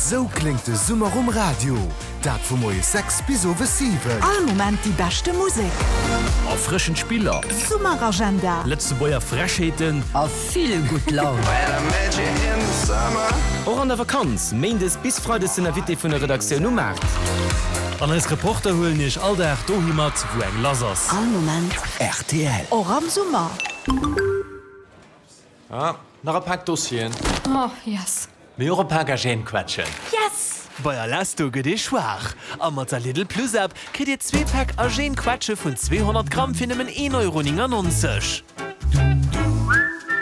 Esou kléngt de Summer um Radio, dat vu moies 6 bis owes 7. All Moment déi beschte Musek. Erfrëschend Spiller. Summeragenda. Lëtzebuerger Frechheeten. A vill gutt Laun. Och an der Vakanz, Méindes bis Freides den Invité vun der Redaktioun um Maart. An eis Reporter huelen iech all Dag dohi mat, wou eng lass ass. All Moment. Rtl. Och am Summer. Ah, nach e Pak Dossieren. Oh, yes. Mee och e Pak Agènequetschen. Yes! Bei Alesto gëtt ee schwaach a mat der Lidl Plus App kritt Dir zwee Päck Agènequetsche vun 200 Gramm fir nëmmen 1,99 Euro.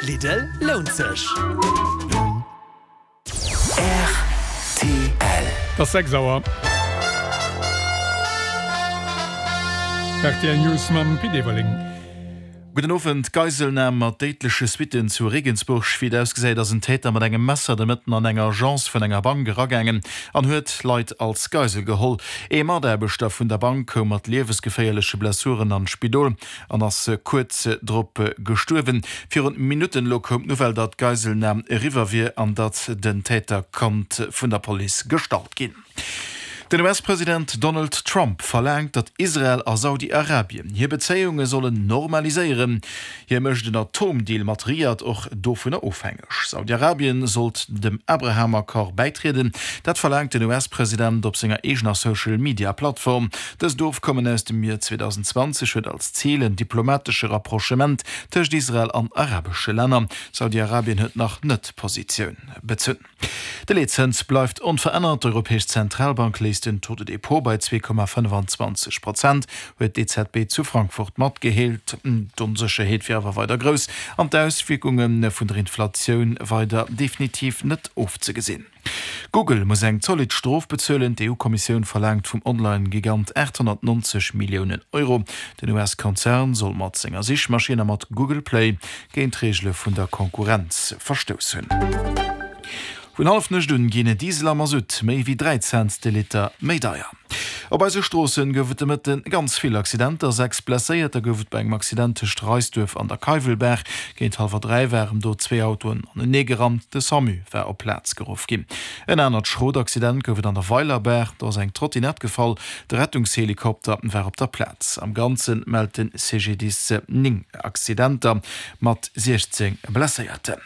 Lidl, lount sech! Rtl. Et ass 6 Auer. Rtl News mam Pit Everling. Gudden Owend. Geiselnam mat déidleche Suitten zu Regensburg. Wéi et ausgesäit, ass en Täter mat engem Messer de Mëtten an eng Agence vun enger Bank eragaangen an huet Leit als Geisel geholl. Ee Mataarbechter vun der Bank koum mat liewesgeféierleche Blessuren an d'Spidol an ass kuerz drop gestuerwen. Virun Minutten elo koum d'Nouvelle, datt d'Geiselnam eriwwer wier an datt den Täter konnt vun der Police gestallt ginn. Den US-President Donald Trump verlaangt, datt Israel a Saudi-Arabien hir Bezéiunge sollen normaliséieren. Hie mécht en Atomdeal mat Riad och dovunner ofhängeg. Saudi-Arabien sollt dem Abraham-Accord bäitrieden. Dat verlaangt den US-President op senger eegener Social-Media-Plattform. Dëst Ofkommen aus dem Joer 2020 huet als Zil en diplomatesche Rapprochement tëscht Israel an arabesche Länner. Saudi-Arabien huet nach net Positioun bezunn. De Leetzëns bleift onverännert. D'Europäesch Zentralbank léisst den Taux de dépôt bei 2,25 Prozent, huet d'EZB zu Frankfurt matgeheelt. D'Onsécherheet wier awer weider grouss an d'Auswierkunge vun der Inflatioun weider definitiv net ofzegesinn. Google muss eng zolidd Strof bezuelen. D'EU-Kommissioun verlaangt vum Online-Gigant 890 Milliounen Euro. Den US-Konzern soll mat senger Sichmaschinn a mat Google Play géint d'Reegele vun der Konkurrenz verstouss hunn. Vun Hallefnuecht un ginn Diesel a Masutt méi wéi 3 Cent de Liter méi deier. Op eise Stroossen gouf et de Mëtte ganz vill Accidenter. 6 Blesséierter gouf et bei engem Accident tëscht Reisduerf an der Keiwelbaach. Géint hallwer 3 waren do zwee Autoen anenee gerannt. De Samu war op d'Plaz geruff ginn. En anert schrot Accident gouf et an der Weilerbaach. Do ass eng Trottinett gefall. De Rettungshelikopter war op der Plaz. Am Ganze mellt de CGDIS 9 Accidenter mat 16 Blesséierten.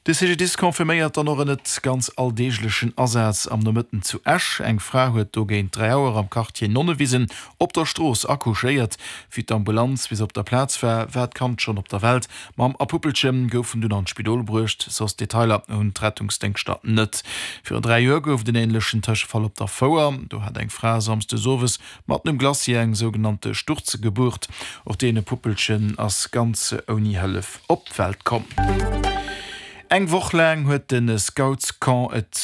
De CGDIS confirméiert dann och en net ganz alldeeglechen Asaz am Nomëtten zu Esch. Eng Fra huet do géint 3 Auer am Quartier Nonnewisen op der Strooss accouchéiert. Wéi d'Ambulanz bis op der Plaz war, war d'Kand schonn op der Welt. Mamm a Puppelche goufen dunn an d'Spidol bruecht. Soss Detailer hunn d'Rettungsdéngschter net. Virun 3 Joer gouf et en änlechen Tëschefall op der Fouer. Do hat eng Fra samsdes owes Matten um Glacier eng sougenannte Sturzgeburt. Och dee Puppelchen ass ganz ouni Hëllef op d'Welt komm. Eng Woch laang huet de Scoutscamp et.